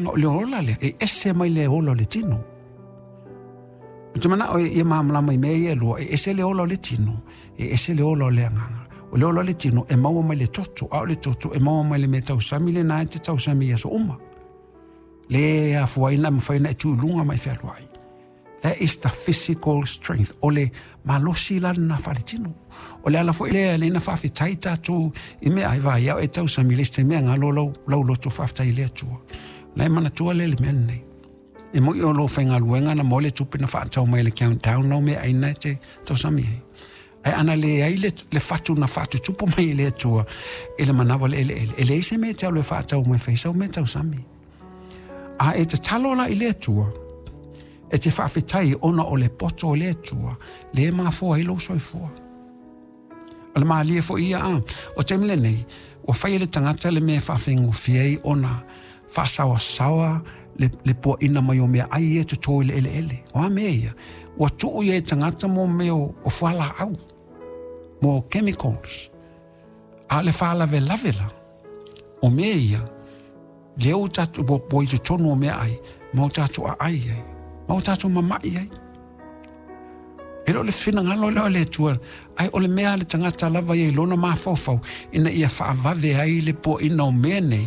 agaga, o le ola lea, e ese mai le ola o le tino. Ou te manao ia malamalama i mea ia e lua, e ese le ola o le tino, e ese le ola o le agaga. O le ola o le tino e maua mai le toto, a o le toto e maua mai le mea tausami lena e te tausami i aso uma. Le afuaina e mafai ona e tu i luga ma e fealuai. That is the physical strength. O le malosi la lena faaletino. O le ala foi lea lea na faafetai tatou i mea ai vai au e tausami le isi taimi galo lau, lau loto faafetai i le Atua. La e manatua le le mea lenei. E moi o lou faigaluega na mo le tupe na faatau mai le countdown lau mea aina e te tausami ai. Ae ana leai le, le fatu na faatutupu mai e le Atua i le manawa le eleele, e leai se mea e te alu e faatau mai fai sau mea tausami. A e tatalo la i le Atua, e te faafetai ona o le poto o le Atua, le mafua ai lou soifua. O le malie foi ia a, o taimi lenei, ua fai e le tagata le mea e faafaigofie ai ona faasaoasaoa le, le puaina mai o mea ai ia toto i le eleele. O a mea ia? Ua tuu ia e tagata mo mea o, o fualaau, mo chemicals. A o le faalavelave la, o mea ia, lea ua tatou ua i totonu o mea ai, ma o tatou aai ai, ma o tatou mama'i ai. E le o le finagalo lea o le Atua, ae o le mea a le tagata lava ia i lona mafaufau, ina ia faavave ai le puaina o mea nei,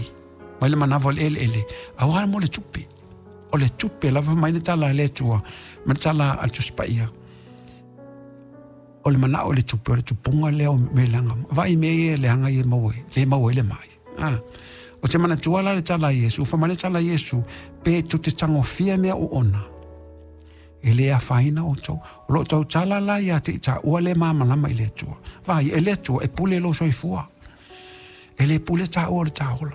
mai le manawa o le eleele, auā mo le tupe. O le tupe lava mai le tala a le Atua, ma le tala a le Tusi Paia. O le manao o le tupe, o le tupuga lea o mea leaga. Vaai mea ia leaga ia maua ai, le maua ai le mai. Ah. O te manatua la le tala a Iesu, fa mai le tala a Iesu, pe tu te tagofia mea o ona. E le afaina outou. O lo o tautala la ia te i taua le malamalama i le Atua. Vaai, e le Atua e pule lou soifua. E le pule taua o le taola.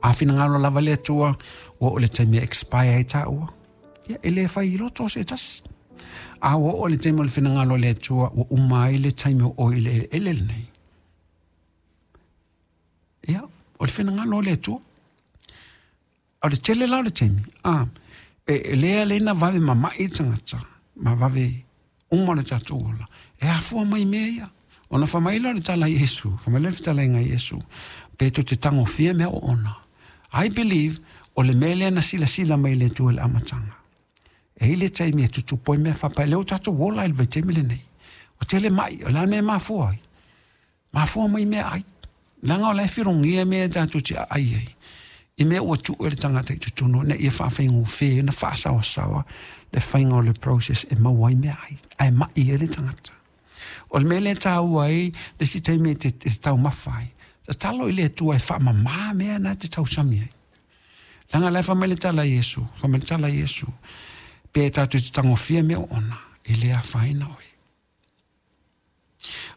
A finagalo lava le Atua, ua oo le taimi e expire ai taua. Ia, e le fai i loto se tasi. A ua oo le taimi o le finagalo o le Atua, ua uma ai le taimi o oe i le eleele lenei. Ia, o le finagalo o le Atua. O le tele la o le taimi, a, e, e lea le na vave mama'i tagata, ma vave uma le tatou ola. E afua mai mea ia. Ona fai mai lea o le tala a Iesu, fai mai lea o le fetalaiga a Iesu, pe tou te tagofia mea o ona. I believe, o le mea lea na silasila mai le Atua i le amataga. E i ai le taimi e tutupu ai mea faapea, lea ua tatou ola i le vaitaimi lenei. Ua tele mai, o le a le mea e mafua ai? Mafua mai mea ai. Leaga o la e filogia mea e tatou te aai ai. I mea ua tuu e le tagata i totonu ina ia faafaigofie ona faasaoasaoa le faiga o le process e maua ai mea ai, ae mai ai le tagata. O le mea lea e taua ai le isi taimi e te, te taumafa ai, tatalo i le Atua e faamamā mea na e te tausami ai. Leaga la e fai mai le tala a Iesu, fai mai le tala a Iesu, pe tatou te tagofia mea o ona, e le afaina oe.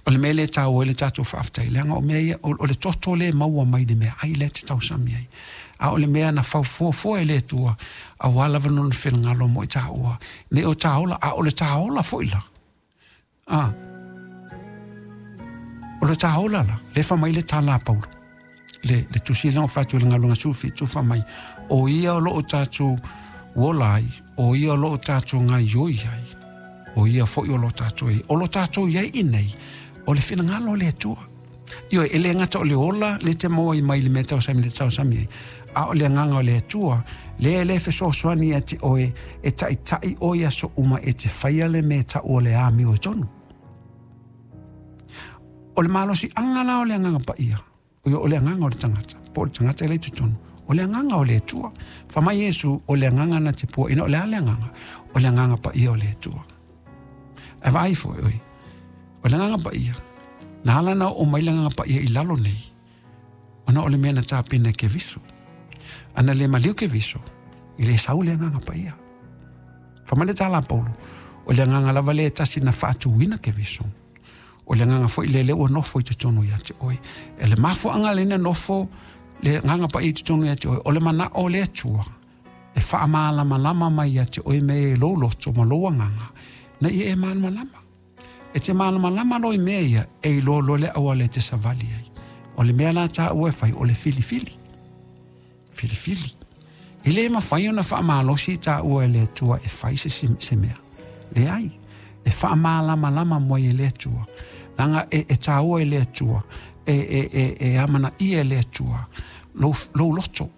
O le mea lea e taua ai le tatou faafetai, leaga o mea ia, o le toto lea e maua mai le meaai lea e te tausami ai. A o le mea na faufuafua e le Atua, aua lava lona finagalo mo i taua, nei o taola, a o le taola foi la. A, o le taola la, le fa mai le tala a Paulo. Le, le tusi lea o fatu i le galuega 17, fa mai, o ia o loo tatou ola ai, o ia o loo tatou gaioi ai, o ia foi o lo tatou i ai. O lo tatou i ai i nei, o le finagalo o le Atua. Ioe, e le gata o le ola le te maua i mai le mea tausami le tausami ai, a o le agaga o le Atua, lea e le fesoasoani ia te oe e taitai oe i aso uma e te faia le mea tau o le amiotonu. O le malosiaga la o le Agaga Paia, o le agaga o le tagata, po o le tagata e le i totonu, o le agaga o le Atua. Fai mai Iesu, o le agaga na te puaina, o le a le agaga? O le Agaga Paia o le Atua. Ae vaai foi oe, o le Agaga Paia, na ala na oo mai le Agaga Paia i lalo nei, ona o le mea na tapena e Keriso. Ana le maliu Keriso, e le sau le Agaga Paia. Fai mai le tala a Paulo, o le agaga lava lea e tasi na faatuina Keriso. O le agaga foi lea lea ua nofo i totonu ia te oe. E le mafuaaga lea na nofo le Agaga Paia i totonu ia te oe, o le manao o le Atua e faamalamalama mai ia te oe mea i lou loto ma lou agaga, na ia e malamalama. E te malamalama loa i mea ia, e iloa loa le auala e te savali ai. O le mea la taua e fai, o le filifili. Filifili. E le mafai ona faamalosi taua e le Atua e fai se, se mea. Leai. E faamalamalama mai e le Atua. Leaga e, e taua e le Atua, e, e, e, e amanaia e le Atua lou, lou loto.